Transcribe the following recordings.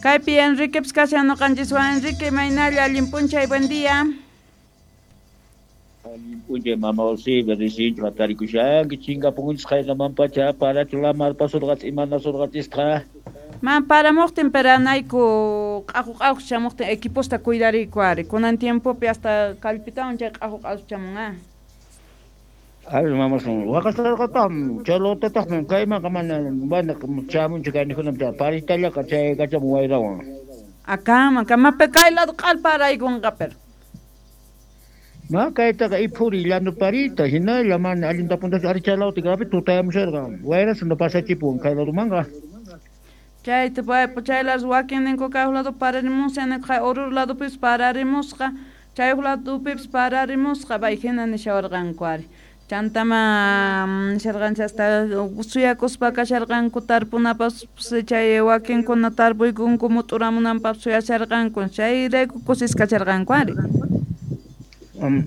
Kaypi Enriquepis kashan noqanchiswan. Enrique, imaynalla, allin p'unchay, buen día. Allin p'unchay, mama Usiba, risinchu hatarikushanki, chinkapunchis qaynamanpacha, parachu lamar pasurqachis, imanasurqachisqa. Man paramuqtin peranayku q'aqu q'aqu chamuqtin equiposta cuidariyku ari. Kunan tiempopi hasta kallpitawan chay q'aqu q'aqu chamun, ah. Ay, mama, waqasarqataqmi, chay lotataqmi kaymanqa mana mana chamunchu kaynikunam paritallaqa chay kachamun wayrawan. Akaman, kamapi kay lado q'alparaykunqa pero. Ma kaytaqa iphuri llanu parita hinalla mana allinta puntachu ari chay lawta gapi tutayamusharqa wayrasuna pasachipun kay ladumanqa. Chayta chay lado wakinninku kay lado pararimusqa ninku Oruro ladopipis pararimusqa, chay ladopipis pararimusqa bay hina nishawarqanku ari. Chantama nisharqanchik hasta suyakuspa kasharqanku tarpunapas chay wakinkuna tarpuykunku mut'uramunanpaq suyasharqanku, chayrayku kusisqa kasharqanku ari.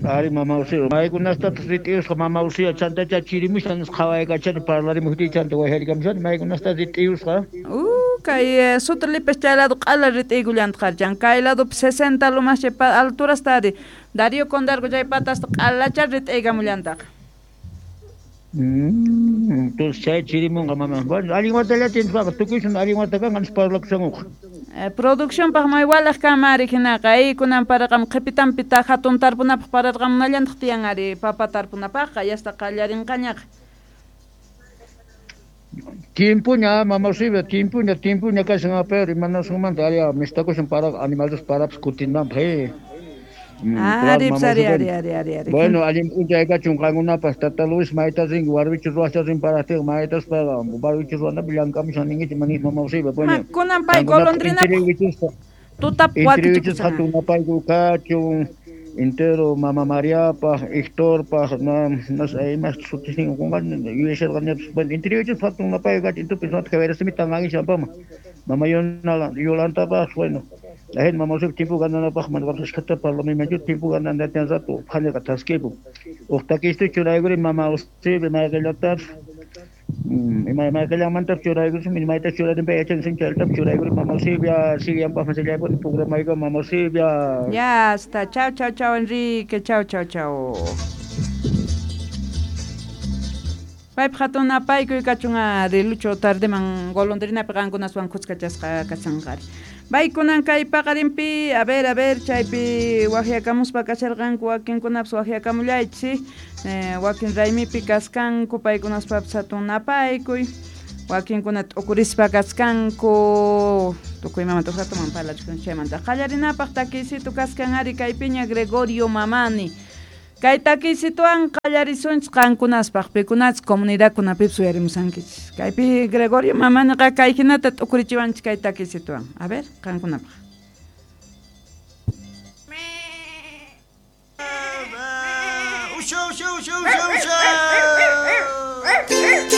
Ari mama Usiya, maykunastataq rit'iyusqa mama Usiya chantacha chirimushan nisqa qhawaykachani parlarimuqtiy chanta wayharikamushani maykunasta rit'iyusqa. Kay Sutrilipis chay lado q'ala rit'iykullantaq chan kay ladopi 60 lomas chay alturasta ari Darío Condarco chay patasta q'alacha rit'iykamullantaq. Entonces chay chirimunqa mama. Bueno, allin watallata nispaqa tukuysun allin wata kanqa nispa parlakushankuqa. Produccionpaq may walaq kanman ari hinaqa kunan paraqam qhipitanpi hatun tarpunapaq pararqamunallantaq tiyan ari papa tarpunapaqqa yasta qallarinqañaqa. Tiempuña mama Usiba, tiempuña, tiempuña kashan pero imanasunmanta ari mistakushan para animales parapas kutinanpaq. Ari, ari, ari, ari, ari, ari. Bueno, allin p'unchay kachun qankunapas tata Luis mayta rin warwichu ruwascha rin paraqtiqa maytas paqa warwichu ruwanapi llank'amushan ninkichik manis mama Usiba. Bueno, kunan pay golondrina tutap wakichikusqa hatun napayku kachun entero mama Mariapaq, Hectorpaq, no sé, imas sutisnin qunqani yuyasharqanipas. Bueno, interiorchisqa hatun napayku kachun intupi sunata kawayrasimitan angishanpama. Mama Yolantapaq, bueno, la gente mama Usiba tiempo gananapaq mana ashkhata parlamaymanchu tiempo gananata rato phaniqa thaskipun. Uq takistu churaykuri mama Usiba mayqillatapis ima mayqillanmantapis churaykusun mayta churarinpi yachansin chayllatapas churaykuri mama Usiba siyanpaq masillaypuni programayku mama Usiba. Ya está, chao, chao, chao Enrique, chao, chao, chao. Paypaq hatun napaykuy kachun ari Lucho tardeman golondrinapi qankunaswan khuskachasqa kashanqa ari. Baykunan kay paqarinpi, a ver, chaypi waqyakamuspa kasharqanku wakinkunapas waqyakamullaychis, wakin raymipi kaskanku paykunaspapis hatun napaykuy, wakinkuna t'ukurispa kaskanku, tukuy imamanta uqratuman parlachikun chaymanta. Qallarinapaq takiysitu kaskan ari kaypiña Gregorio Mamani. Kay takiysituwan qallarisunchis qankunaspaq, pikunachis comunidadkunapipis uyarimusankichis. Kaypi Gregorio Mamaniqa kay hinata t'ukurichiwanchis kay takiysituwan. A ver, qankunapaq. Usha, usha, usha, usha.